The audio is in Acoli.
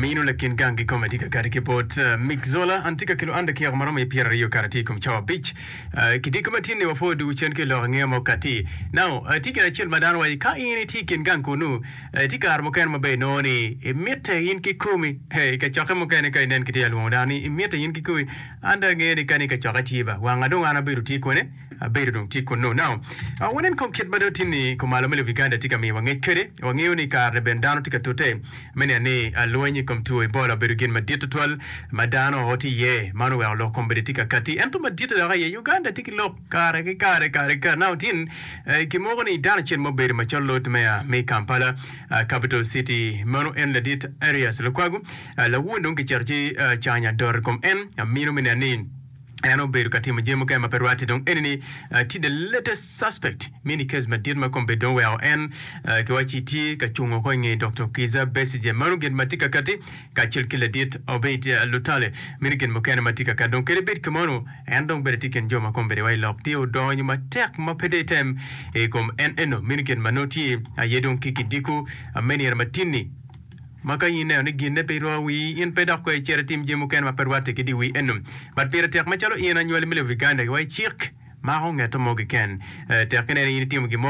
Amino lakin gang kikome tye ka kati ki bot Mick Zola. An tye ka kelo an dakika ma romo i 20 kare tye i kom cawa abic. Kidiko ma tin-ni wapwo dugu cen ki i lok angeya ma okati. Now, tye gin acel ma dano waco, ka in itye i kin gang kunu, tye kare mukene ma ber inongo ni imitte in kikomi. Hey, i kacokke mukene ka inen kitye ka lwongo dano ni imitte in kikomi, an dong angeyo ni kani kacokke tye ba, wanga dong an abedo tye kwene? Abedo dong tye kunnu. Now, wanen kong kit ma dong tin-ni kumalo me lobo Uganda tye ka miyowa ngec kwede. Wangeyo ni kare-ni bene dano tye ka tute me neno ni lweny i kom two Ebola obedo gin madit tutwal ma dano tye iye. Man oweko lok kom bene tye ka katti. Ento maditte dok aye, Uganda tye ki lok kare ki kare, kare ki kare. Now, tin kimoko ni dano acel ma obedo macalo Lord Mayor me Kampala Capital City, meno en ladit Erias Lukwago, lawun dong kicito ci canyo adot i kom en amino me neno ni En obedo ka timo jami mukene ma pe rwatte. Dong eni-ni tye the latest suspect mini case madit ma kombeddi dong oweko en kiwacci tye ka cung woko i nge Doktor Kizza Besigye. Meno gin ma tye ka katti kacel ki ladit Obeid Lutale. Meno gin mukene ma tye ka katti. Dong kadi bed kumeno, en dong bene tye i kin jo ma kombeddi wa i lok tye odonyo matek ma pe dong item i kom en eno. Meno gin ma nongo tye aye dong ki kidiko me nino matin-ni. Ma ka in ineno ni ginne pe irwako wii, in pe dok kono icit itim jami mukene ma pe rwatte ki dye wii eno. But pire tek macalo in anywali me lobo Uganda wa i cik mako ngeto mo keken. Tek ineno in itimo gin mo.